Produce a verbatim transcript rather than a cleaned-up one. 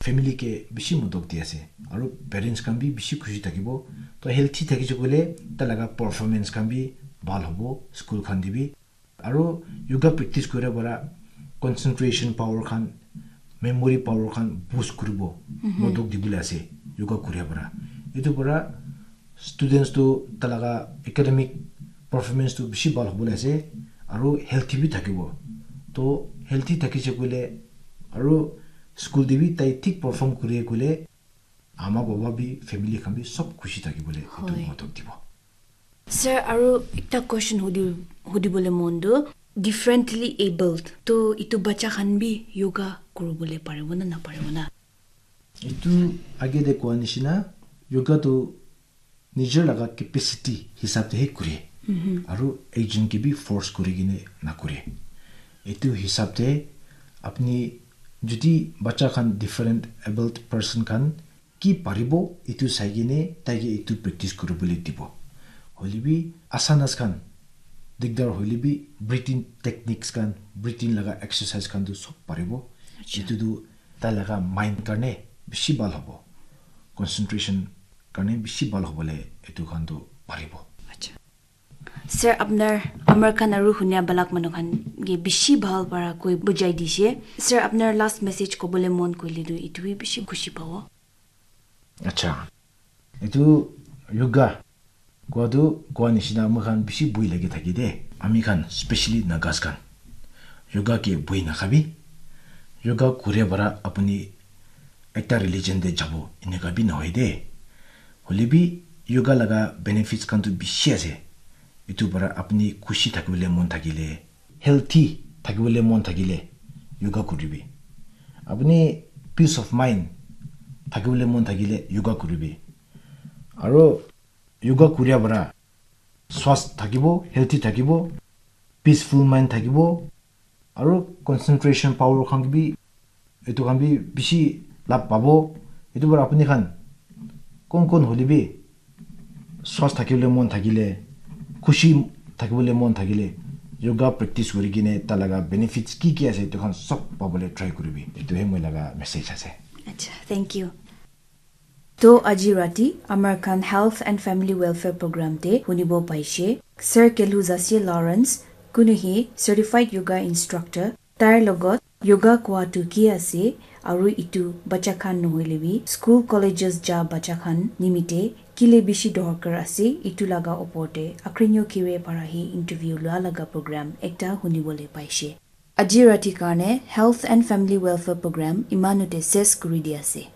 family ke bishi modok di ase. Aru parents khan bi bishi khushi thakibo. To healthy thakise koile tai laga performance khan bi bhal hobo school khan te bi. Aru yoga practice kore para concentration power khan, memory power khan boost kuribo, modok dibole ase yoga kore para. Etu para students tu tai laga academic performance tu bishi bhal hobole ase aru healthy bi thakibo. To healthy thakise koile aru school te bi tai thik perform kore koile ama baba bi family khan bi sob khushi thakibole etu modok dibo. Sir, aru ekta question hudi hudibole mon tu differently abled to itu bacha khan bi yoga kuribole paribo na naparibo na? Etu age te koa nishina yoga tu nijor laga capacity hisab te he kure aru ekjon ke bi force kuri kene na kure. Etu hisab te apni jodi bacha khan different abled person khan ki paribo etu sai kene tai ke etu practice kuri bole dibo. Hoile bi asanas khan digdar hoile bi breathing techniques khan, breathing laga exercise khan tu sob paribo. Etu tu tai laga mind karne bishi bhal hobo, concentration karne bishi bhal hobole etu khan tu paribo. Sir, apnar amar khan aru hunia balak manu khan ke bishi bhal para koi bujai dishe. Sir, apnar last message kobole mon koile tu itu bi bishi khushi pabo. Acha, etu yoga koa tu koa nishina moi khan bishi bui lagi thaki de. Ami khan specially Nagas khan yoga ke bui nakhabi. Yoga kure para apuni ekta religion te jabo enika bi nohoi de. Hoile bi yoga laga benefits khan tu bishi ase. Etu para apuni khushi thakibole mon thakile, healthy thakibole mon thakile yoga kuribi. Apuni peace of mind thakibole mon thakile yoga kuribi. Aru yoga kuria para swast thakibo, healthy thakibo, peaceful mind thakibo, aru concentration power khan bi etu khan bi bishi lab pabo. Etu para apuni khan kon kon hole bi swast thakibole mon thakile, khushi thakibole mon thakile yoga practice kuri kene tai laga benefits ki ki ase etu khan sob pabole try kuribi. Etu he moi laga message ase. Acha, thank you. To aji rati amar khan Health and Family Welfare Program te hunibo paishe Sir Kelu Zasie Lawrence, kunu hi certified yoga instructor, tar logot yoga koa tu ki ase aru itu bacha khan nohoile bi school colleges ja bacha khan nimite kile bishi dorkar ase itu laga opor te Akrinyo Kire para hi interview lua laga program ekta hunibole paishe. Aji rati karne Health and Family Welfare Program imanute ses kuri di ase.